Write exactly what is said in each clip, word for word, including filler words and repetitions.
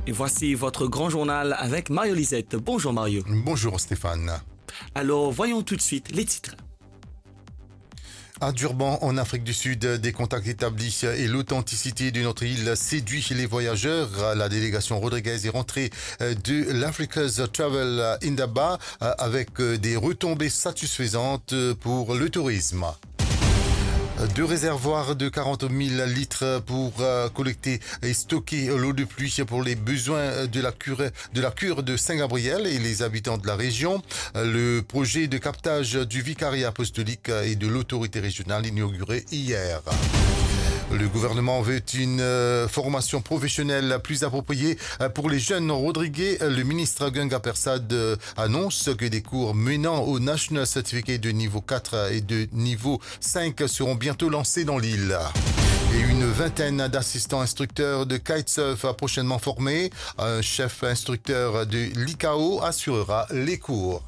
Et voici votre grand journal avec Mario Lisette. Bonjour Mario. Bonjour Stéphane. Alors, voyons tout de suite les titres. À Durban, en Afrique du Sud, des contacts établis et l'authenticité de notre île séduit les voyageurs. La délégation Rodriguez est rentrée, euh, de l'Africa's Travel Indaba, euh, avec, euh, des retombées satisfaisantes, euh, pour le tourisme. Deux réservoirs de quarante mille litres pour, euh, collecter et stocker l'eau de pluie pour les besoins de la cure, de la cure de Saint-Gabriel et les habitants de la région. Le projet de captage du vicariat apostolique et de l'autorité régionale inauguré hier. Le gouvernement veut une, euh, formation professionnelle plus appropriée, euh, pour les jeunes rodriguais. Le ministre Ganga Persad, euh, annonce que des cours menant au National Certificate de niveau quatre et de niveau cinq seront bientôt lancés dans l'île. Et une vingtaine d'assistants instructeurs de kitesurf prochainement formés. Un chef instructeur de l'I C A O assurera les cours.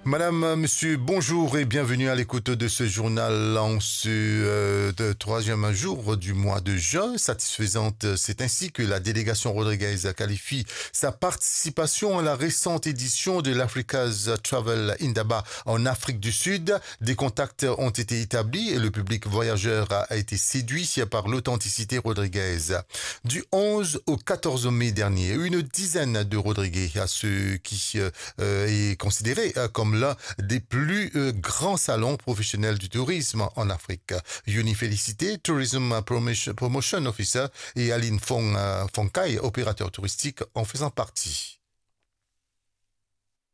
Madame, monsieur, bonjour et bienvenue à l'écoute de ce journal en ce, euh, de troisième jour du mois de juin. Satisfaisante, c'est ainsi que la délégation rodriguaise qualifie sa participation à la récente édition de l'Africa's Travel Indaba en Afrique du Sud. Des contacts ont été établis et le public voyageur a été séduit par l'authenticité rodriguaise. Du onze au quatorze mai dernier, une dizaine de Rodriguais, à ceux qui, euh, euh, est considéré, euh, comme l'un des plus, euh, grands salons professionnels du tourisme en Afrique. Yuni Félicité, Tourism Promotion, Promotion Officer, et Aline Fong, euh, Fonkai, opérateur touristique, en faisant partie.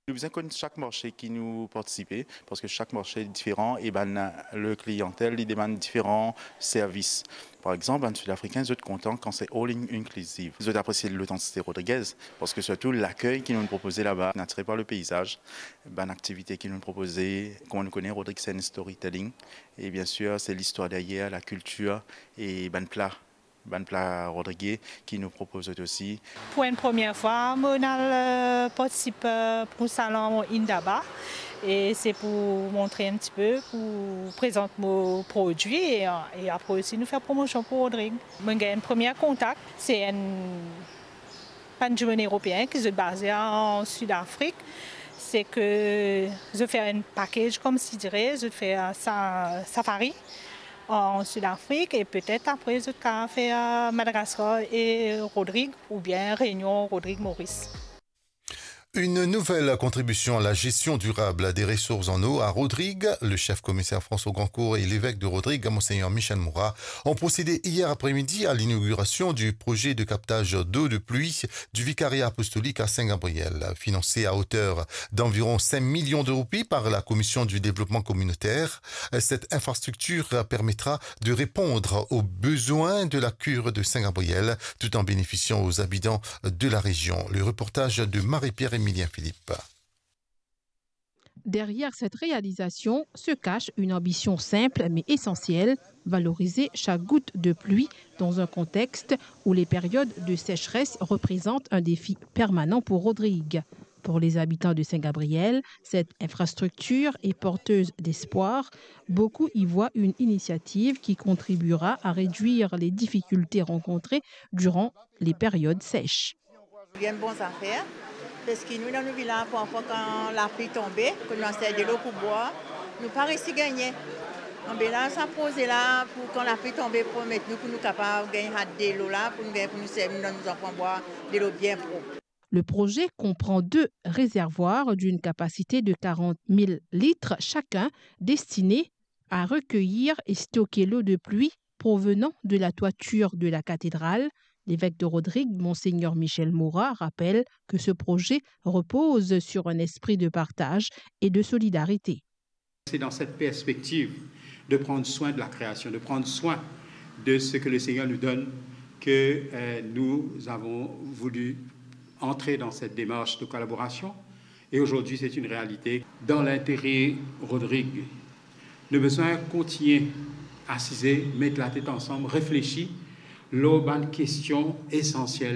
Nou bizin konn sak marse ki nou partisipe, parski sak marse diferan e bann, le kliyantel, li demann diferan servis. Par exanp, bann Sidafrikin, zot kontan kan se all in-, inclusive. Zot apresie lotantiste rodrigez, parski sirtou lakey ki nou propoze laba, atire par le peizaz, bann aktivite ki nou propoze, kouma nou kone Rodrig se enn storytelling, e bien sir, se listwar deryer, lakiltir e bann pla, bann pla rodrigez ki nou propoz zot osi. Pou enn premie fwa, mo al, euh, partisip, euh, pou salon Indaba, e se pou montre enn tipe, pou prezant mo prodwi, e, e apre osi nou fer promosion pou Rodrig. Mo gagn enn premie kontak, se enn bann dimoun eropeen ki zot baze an Sidafrik, se ke zot fer enn package, koumsi dire, zot fer sa-, safari an Sidafrik, e petet apre zot kapav fer Madagaskar e Rodrig, oubien Rényon, Rodrig, Moris. Une nouvelle contribution à la gestion durable des ressources en eau à Rodrigues. Le chef commissaire François Grandcourt et l'évêque de Rodrigues, Monseigneur Michel Moura, ont procédé hier après-midi à l'inauguration du projet de captage d'eau de pluie du vicariat apostolique à Saint-Gabriel. Financée à hauteur d'environ cinq millions de roupies par la Commission du développement communautaire, cette infrastructure permettra de répondre aux besoins de la cure de Saint-Gabriel, tout en bénéficiant aux habitants de la région. Le reportage de Marie-Pierre Emilien Philippe. Derrière cette réalisation se cache une ambition simple mais essentielle, valoriser chaque goutte de pluie dans un contexte où les périodes de sécheresse représentent un défi permanent pour Rodrigues. Pour les habitants de Saint-Gabriel, cette infrastructure est porteuse d'espoir. Beaucoup y voient une initiative qui contribuera à réduire les difficultés rencontrées durant les périodes sèches. Bien bon zafer, parski nou, dan nou vilaz, parfwa kan lapli tonbe, kan nou aster delo pou bwar, nou pa resi gagne. Anben la, sa proze la, pou kan lapli tonbe, pou permet nou, pou nou kapav gagn sa delo la, pou nou gagn, pou nou servi, nou donn nou zanfan bwar delo bien prop. Le projet comprend deux réservoirs d'une capacité de quarante mille litres chacun, destinés à recueillir et stocker l'eau de pluie provenant de la toiture de la cathédrale. L'évêque de Rodrigues, Monseigneur Michel Moura, rappelle que ce projet repose sur un esprit de partage et de solidarité. C'est dans cette perspective de prendre soin de la création, de prendre soin de ce que le Seigneur nous donne, que, euh, nous avons voulu entrer dans cette démarche de collaboration. Et aujourd'hui, c'est une réalité. Dans l'intérêt Rodrigue, nou bizin kontigne asize, met latet ansam, reflesi lor bann kestion esansiel.